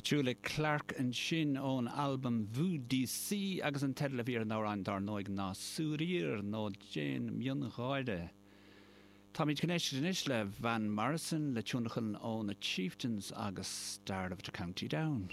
Petula Clark ansin ón albam Voo-Dee-See agus an teideal a bhí ar an amhrán dár ndóigh ná Sourire nó Déan Miongháire. Táimid chun éisteacht anois le Van Morrison le tionlacan ó na Chieftains agus Star of the County Down.